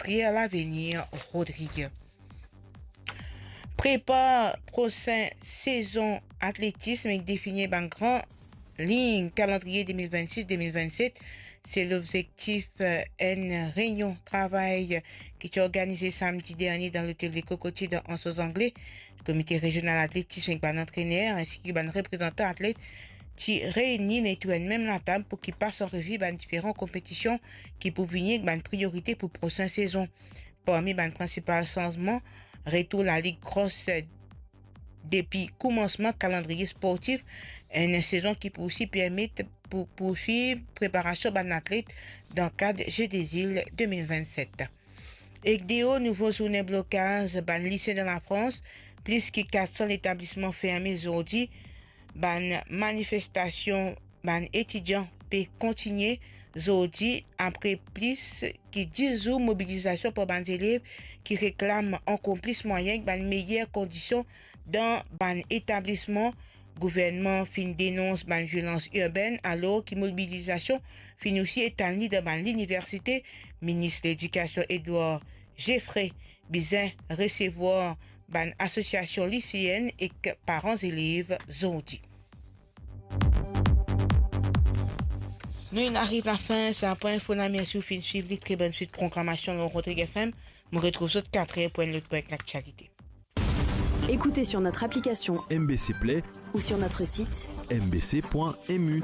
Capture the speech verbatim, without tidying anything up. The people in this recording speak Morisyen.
Pierre Lavenir Rodrigue. Prepar prosin sezon atletism ek defini bann gran lign kalandriye de mil vennsis de mil vennset, se lobzektif, eh, enn reynion travay ki ti organize samdi dernie dan lotel Le Cocotier dan Anse aux Anglais. Komite rezional atletism ek bann antrener, ensi ki bann reprezantan atlet ti reyni letour enn mem latab pou ki pas an revi bann diferan konpetision ki pou vini ek bann priorite pou prosin sezon. Parmi bann prinsipal sanzman, retour Lalig Cross depi koumansman kalandriye sportif, enn sezon ki pou osi permet pou, pou swiv preparasion bann atlet dan kad Jeux des Îles de mil vennset. Ek de nouvo zourne blokaz bann lise dan Lafrans, plis ki kat san letablisman ferme zordi, bann manifestasion bann etidian pe kontinie zordi apre plis ki dis zour mobilizasion par bann zelev ki reklam ankor plis mwayin ek bann meyer kondision dan bann etablisman. Gouvernman finn denons bann violans irbenn, alor ki mobilizasion finn osi etann li dan bann liniversite. Minis Ledikasion Edouard Geffray bizin resevwar bann asosiasion liseenn ek paran zelev zordi. Nou inn ariv lafin sa pwen info la, mersi ou finn swiv li, tre bonn swit programasion lor Rodrigue F M. Mo retrouv zot kat er pou enn lot pwen laktialite. Écoutez sur notre application M B C Play ou sur notre site M B C point M U.